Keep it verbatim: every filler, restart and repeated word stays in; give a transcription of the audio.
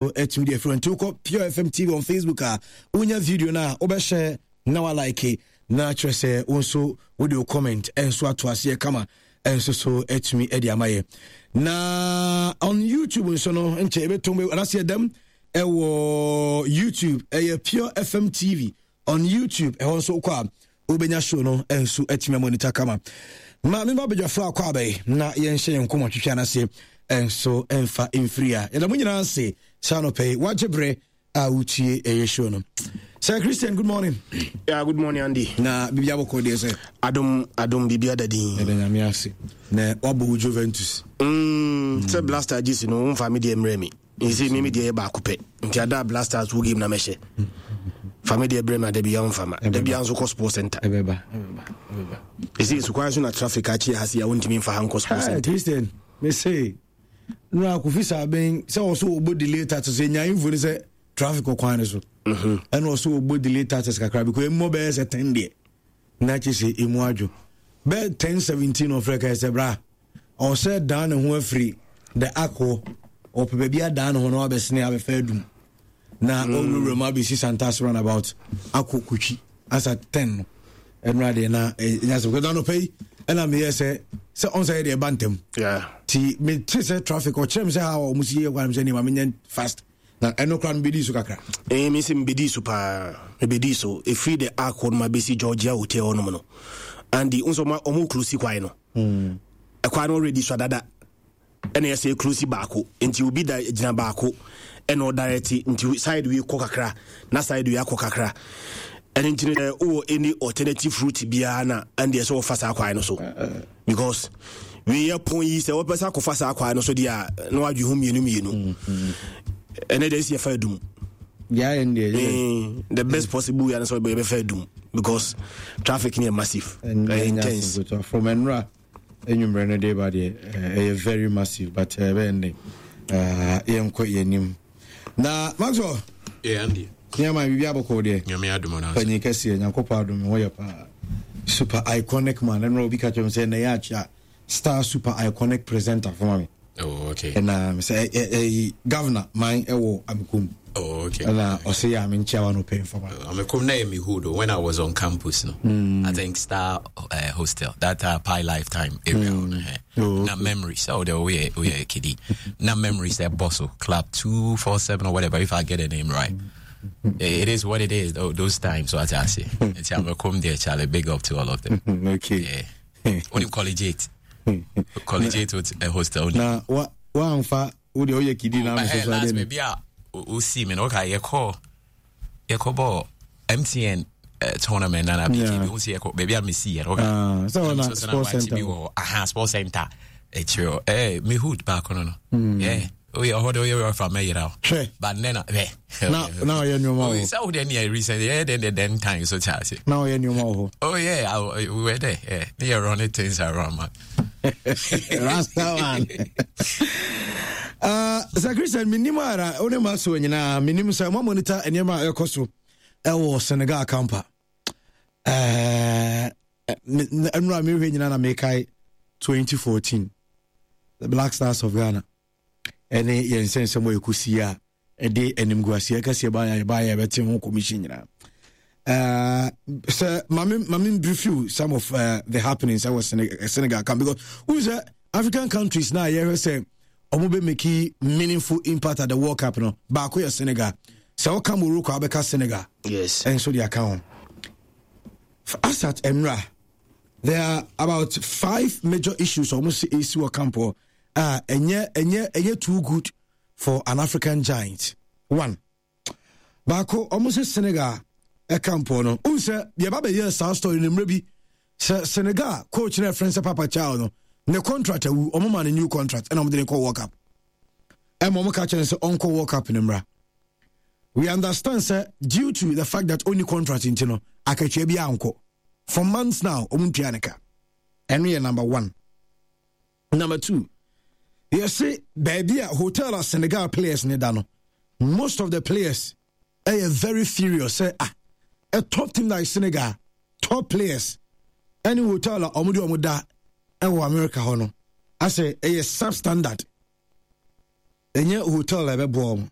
Atumi de afiri nti wokɔ Pure F M T V on Facebook a, wonya video no a wobɛhyɛ na walike na kyerɛ sɛ wo nso wode wo comment nso ato aseɛ kama nso so atumi de ama yɛ. Na on YouTube nso no nkyɛ yɛbɛtom anaasɛ yɛdam ɛwɔ YouTube, ɛyɛ Pure F M T V on YouTube. Ɛhɔ nso wokɔ a wobɛnya show no nso atumi amonitor kama. Ma mema badwafoɔ akɔ abɛyi na yɛnhyɛ yɛn nkɔmmɔ twitwa no ase nso mfa mfiri a yɛda mo nyinaa ase saa nɔpɛ yi wagye berɛ a wotie ɛyɛ show no. Sir Christian, good morning. Yeah, good morning, Andy. Na biribi abɔkɔ deɛ sɛ? Adom, adom, biribi adadin. Ɛda Nyame ase. Na wabɔ wo Juventus. mm, sɛ Blaster gye si no, womfa me deɛ mmerɛ me ɛsɛ me me deɛ yɛ baako pɛ, nti ada Blasters wo game na mɛhyɛ. Fa me deɛ brɛ me ada bia womfa ma da bia nso kɔ sports center. Ɛbɛba, ɛbɛba, ɛbɛba. Ɛsɛ sukwan so na traffic akye ha se a wontumi mfa ha nkɔ sports center. Christian, me se nura Kofi Saben sɛ ɔso wɔbɔ delay taxes, ɛnya info no sɛ traffic wɔ kwan no so, ɛna ɔso wɔbɔ delay taxes kakra because ɛmmɔ bɛyɛ sɛ ten deɛ na kye sɛ ɛmu adwo bɛɛ ten seventeen. Ɔfrɛ kae sɛ bra ɔsɛ dan ne ho afiri the akɔ ɔpɛ baabi adan ne ho na wabɛsene abɛfa adum na ɔwurawura mu abɛsi Santas Roundabout akɔ Kotwi asa ten no. Ɛnura deɛ na ɛnya sɛ kɔda nɔpɛ yi ɛna meyɛ sɛ sɛ ɔn sɛ yɛ deɛ ɛba ntɛm ti mete sɛ traffic ɔkyerɛ me sɛ ha ɔmo si yɛ kwan sɛ nneɛma menyɛ fast na ɛno koraa no bɛdii so kakra. Eh, me sɛ mebɛdii so paa, mebɛdii so ɛfiri the Ark hɔ nom abɛsi Georgia Hotel hɔ nom no. Andy, wo sɛ ɔmo close kwan no, ɛkwan no already so adada ɛna ɛsɛ close baako, nti obi da gyina baako ɛna ɔdirect, nti side wei kɔ kakra na side wei akɔ kakra. Ɛno nti no wowɔ any alternative route biara na ɛnde ɛsɛ wɔfa saa kwan no so, because wei yɛ pɔn yi sɛ wɔpɛ sɛ akɔfa saa kwan no so deɛ a na wadwe ho mmienu mmienu. Ɛnɛ deɛ ɛsi yɛfa adum. Mm, the best possible way sɛ yɛbɛfa adum because traffic no yɛ massive, ɛyɛ intense. From ɛnora enwummerɛ no de ba deɛ, ɛyɛ very massive, but ɛbɛyɛ nde yɛnkɔ yɛnim na Maxwell. Yeah, Andy. Nneɛma biribi abɔkɔ deɛ? Nyame adom no. Panyin kɛseɛ, Nyankopɔn adom ho yɛ paa. Super iconic man, ɛnora obi ka kyerɛ me sɛ ɛnɛ yɛ akye a star super iconic presenter fama me. Oh, okay. Ɛna sɛ ɛyi governor man ɛwɔ Amekom. Oh, okay. Ɛna ɔsɛ yɛ ame nkyia wa no pɛ nfama. Amekom na yɛ me hood when I was on campus no. Mm. I think Star uh, Hostel, that uh, Pie Lifetime area. Mm. Oh, okay. Na memory so the we we kidi. Na memory said Bosso Club two four seven or whatever, if I get the name right. It is what it is though, those times what I say. It's Amekom there, Charlie. Big up to all of them. Okay. Yeah. Only collegiate. Collegiate with a hostel. Na wa wa wo deɛ woyɛ kidi na mesɛ so last maybe a wo see me no, okay, yɛkɔ yɛkɔ bɔ M T N uh, tournament na na B K B wo see yɛkɔ baabi a mesi yɛ no, okay, sɛ wɔna sports center bi wɔ aha, sports center akyire hɔ, eh me hood baako no no yeah, oyɛ ɔhɔ de oyɛ ɔfa mɛyera o. Hwɛ. But nɛ na hwɛ. Na na ɔyɛ nneɛma wɔ. Sɛ wo deɛ ne recent yɛ den den den time so kyɛ ase. Na ɔyɛ nneɛma wɔ hɔ. Oh yeah, I, we were there, yeah, ne yɛ running things around, man. Rasta man. uh, sɛ Christian, menim ara wo ne ma so nyinaa, menim sɛ mo monitor nneɛma a ɛkɔ so ɛwɔ Senegal campa. Ɛnura mehwɛ nyinaa na mekae twenty fourteen, the Black Stars of Ghana ɛne yɛn nsɛnsɛm a ɛkɔsi a ɛde animguaseɛ kɛseɛ baayɛ baayɛ ɛbɛte ho commission nyinaa. Uh, sɛ mame mame brief you some of uh, the happenings ɛwɔ Senegal, Senegal camp, because wohu sɛ African countries na yɛhwɛ sɛ ɔmo bɛ make meaningful impact at the World Cup no, baako yɛ Senegal. Sɛ woka Morocco a, wobɛka Senegal. Yes. Ɛnso de aka ho. As at ɛnora, there are about five major issues ɔmo sɛ ɛsi wɔ camp hɔ a ɛnyɛ ɛnyɛ ɛnyɛ too good for an African giant. One baako, ɔmo sɛ Senegal ɛka mpɔ no n sɛ yɛba bɛyɛ saa story no mmerɛ bi sɛ Senegal coach no ɛfrɛ sɛ Papa Thiaw no, ne contract awu. Ɔmo ma no new contract ɛna ɔmo de ne kɔ World Cup, ɛma ɔmo ka kyerɛ no sɛ ɔnkɔ World Cup no mmra. We understand sɛ due to the fact that ɔni contract nti no, akatua bi ankɔ. For months now ɔmo ntua ne ka. Ɛno yɛ number one. Number two, yɛse baabi a hotel a Senegal players ne da no, most of the players ɛyɛ very furious sɛ ah, a top team like Senegal, top players ɛne hotel a ɔmo de ɔmo da ɛwɔ America hɔ no asɛ ɛyɛ substandard, ɛnyɛ hotel a ɛbɛboa ɔmo.